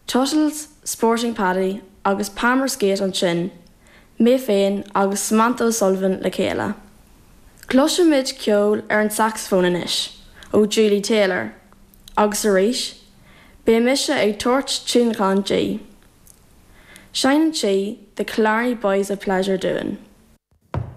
Tuttles, Sporting Paddy agus Palmer's Gate ansin, mé féin agus Samantha O'Sullivan le chéile. Cloisfimid ceol ar an sacsafón anois ó Julie Taylor agus arís beidh mise ag tabhairt tionlacan di. Seinneann sí The Killarney Boys of Pleasure dúinn.